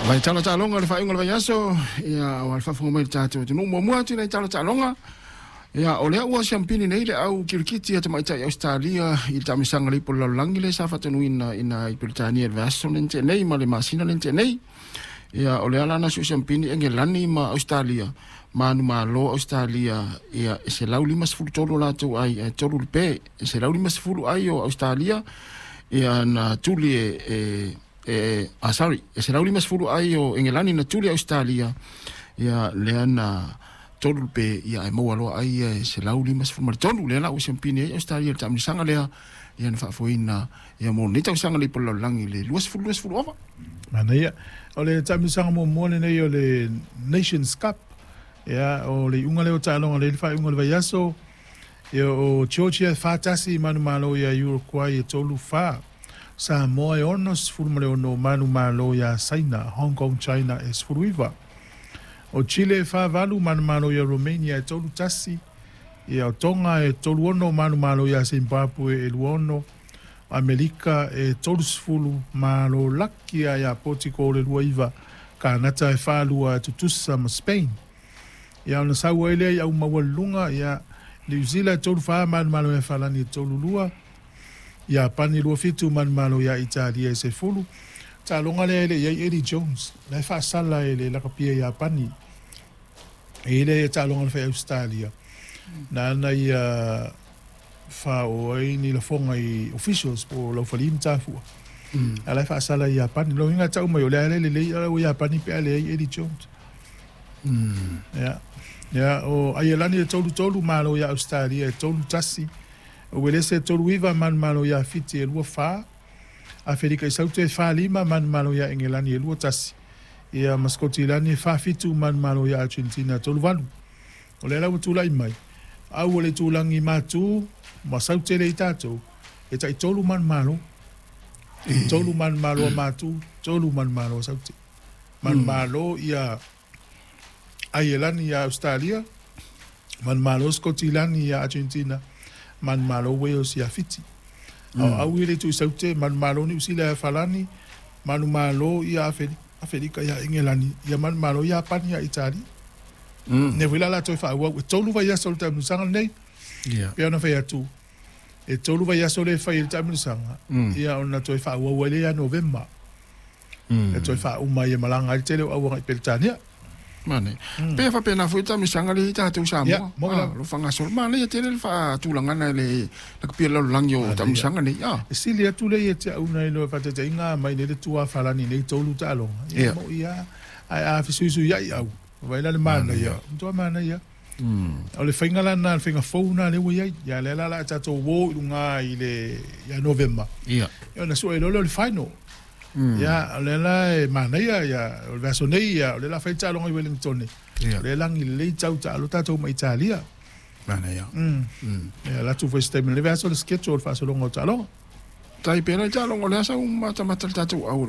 Vai tala taaloga le faaiuga o le vaiaso, ia aua le faafofoga mai le tatou atunuu. Muamua atu i nai tala taaloga, ia o lea ua siampini nei le au kirikiti a tamaitai Ausetalia i le taamilosaga a le Ipu o le Lalolagi lea sa faatonuina ina i Peretania i le vaiaso lea na tea nei ma le masina lea na tea nei. Ia o lea la na siusiampini Engelani ma Ausetalia, manumalo Ausetalia ia e 153 o latou ai ae 3 le pe. E 150 ai o Ausetalia ia na tuli e sorry, e 150 ai o Engelani na tuli Ausetalia ia lea na 3 le pe ia ae maua loa ai ia e 153 lea la ua siampini ai Ausetalia i le taamilosaga lea ia na faafoeina ia mo lenei tausaga le Ipu o le Lalolagi le 2020 ova. Manaia. O le taamilosaga muamua lenei o le Nations Cup. Ia, o le iuga lea o taaloga lea i le faaiuga o le vaiaso. Ia, o Georgia e 4-1 manumalo ia Uruguay e 3-4. Samoa e 66 manumalo ia Saina, Hong Kong China e 19. O Chile e 4-8 manumalo ia Romania e 3-1. Ia, o Tonga e 3-6 manumalo ia Zimbabwe e 2-6. Amerika e 30 malo laki ia ia Portugal e 29, Kanata e 4-2 tutusa ma Spain. Ia ona sau ai lea i au maualuluga, ia Niu Sila e 3-4 manumalo ia Falani e 3-2, Iapani e 2-7 manumalo ia Italia e 10. Taaloga lea e le i ai Eddie Jones, la e faasala e le lakapia Iapani. E i ai lea taaloga na fai Ausetalia, nāna ia faaoo ai ni lafoga i officials po o laufali ma tafua. A la e faasala i Iapani. Lona uiga e tau mai o le a le lelei a ua Iapani pe a leai Eddie Jones. Ia. Ia, o Aielani e 3-3, malo ia Ausetalia e 3-1. O Uelese e 3-9, manumalo ia Fiti e 2-4. Aferika i Saute e 4-5, manumalo ia Engelani e 2-1. Ia ma Sikotilani e 4-7, manumalo ia Argentina e 3-8. O lea la ua tulai mai, au o le itulagi matu ma sau tele i tatou, e tai 3 manumalo. 3 manumalo a matu, 3 manumalo a Saute. Manumalo ia Aielani ia Ausetalia, manumalo Sikotilani ia Argentina, manumalo Wales ia Fiti. Au au i le itu i Saute, manumalo Niu Sila ia Falani, manumalo ia Aferika ia Engelani, ia manumalo Iapani ia Italia. Ne foi la latou e faaauau e 3 vaiaso o le taamilosaga lenei. Pei ona fai atu, e 3 vaiaso lea e fai ai le taamilosaga, ia ona toe faaauau ai lea ia Novema. E toe faauma ai e malaga ai le tele o au agai Peretania. Manaia. Pe faapena foi le taamilosaga lea i tatou Samoa. Lo faagasolo. Manaia tele le faatulagana le lakapia le lalolagi o taamilosaga nei. E sili atu lea ia te au nai lo faataitaiga mai nei le tua Falani nei 3 taaloga. Ia mo ia ae a fesuisuiai au. Vai la le manaia. Matua manaia. O le faiga la lena, le faiga fou lena lea ua i ai. Ia lea la o le a tatou o i luga i le ia Novema. Ia ona sue loa lea o le final. Ia o lea la e manaia ia o le vaiaso nei ia o lea o le a fai le taaloga i Wellington. O lea e lagi lelei tau taalo tatou ma Italia. Manaia. Ia alu atu foi se taimi o lenei vaiaso le schedule o le faasologa o taaloga. Tai pea le taaloga o le a sau matamata le tatou au.